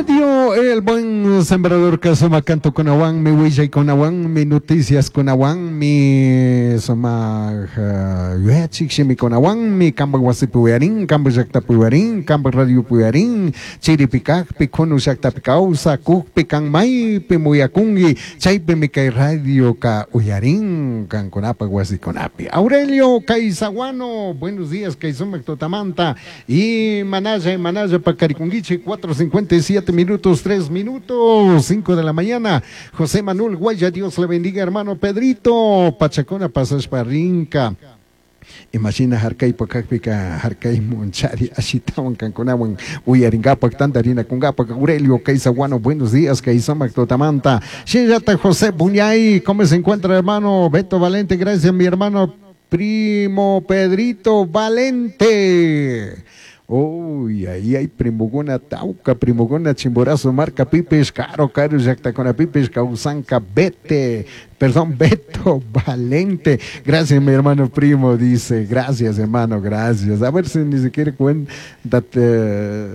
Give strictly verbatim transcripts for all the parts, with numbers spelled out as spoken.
Radio El Buen Sembrador sumac cantokunawanmi, willaykunawanmi, noticiaskunawanmi, sumac yuyachik shimikunawanmi, kampak wasipi uyarin, kampak llaktapi uyarin, kampak radiopi uyarin, chiripi kakpi, kunu llaktapi kawsakukpi, kan maypi muyakunki, chaypimi kay radioka uyarin kankunapak wasikunapi. Aurelio Caizaguano, buenos días, kay sumak tutamanta, y manalla, manalla pakarikunkichik, cuatro cincuenta y siete minutos, tres minutos, cinco de la mañana. José Manuel Guaya, Dios le bendiga, hermano Pedrito. Pachacona pasashpa rinka. Imagina harkaypa kakpika harkaymun chari ashitawan kankunawan uyarinkapak tantarinakunkapak. Aurelio Caizaguano, buenos días, kay sumak tutamanta. Shinallata José Buñay, ¿cómo se encuentra, hermano? Beto Valente, gracias, mi hermano primo Pedrito Valente. Uy, ahí hay primoguna Tauca, primoguna Chimborazo, marca Pipes, caro, caro, llaktakuna Pipes, Causanca, Vete, perdón, Beto Valente. Gracias, mi hermano primo, dice. Gracias, hermano, gracias. A ver si ni siquiera cuéntate,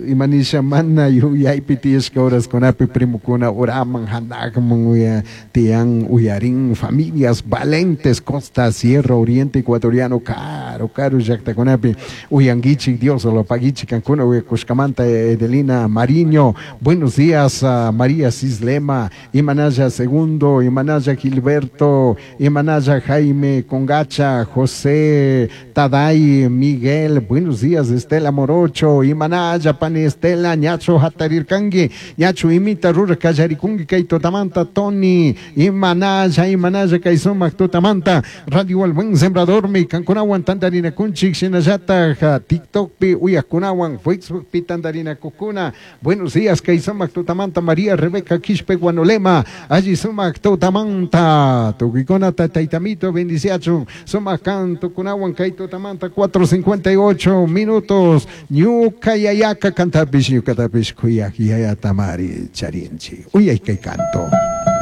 imanisha mana yuyaypi tiyashka horaskunapi primokuna uraman, hanakman, uya, tiyan, uyarin, familias valentes, Costa, Sierra, Oriente Ecuatoriano, caro, caro, llaktakunapi, uyankichik, Dios lo paguichik, kankuna, uyakushkamanta, Edelina Mariño. Buenos días, a María Cislema, Imanaya Segundo, Imanaya Gilberto, Imanaya Jaime Congacha, José Taday, Miguel, buenos días, Estela Morocho, Imanaya Pani Estela, Ñacho Hatarirkangi, Ñacho Imita Rura Kallarikungi, Kaito Tamanta, Tony, Imanaya, Imanaya Kaisumak Tutamanta, Radio El Buen Sembrador, mi kankunawan tantarina kunchik, shinallata, TikTok pi uyakunawan, Facebook pi tantarina kukuna. Buenos días, Kaisumak Tutamanta, María Rebeca Quispe Guanolema, allí sumak Tutamanta, tukikuna taitamito, bendiciachun, sumak canto kunawan, Kaito Tamanta, cuatro cincuenta y ocho minutos, ñuka yayaka cantapish, ñuka tapish, kuyak yaya tamari charinchi, uyay kay canto.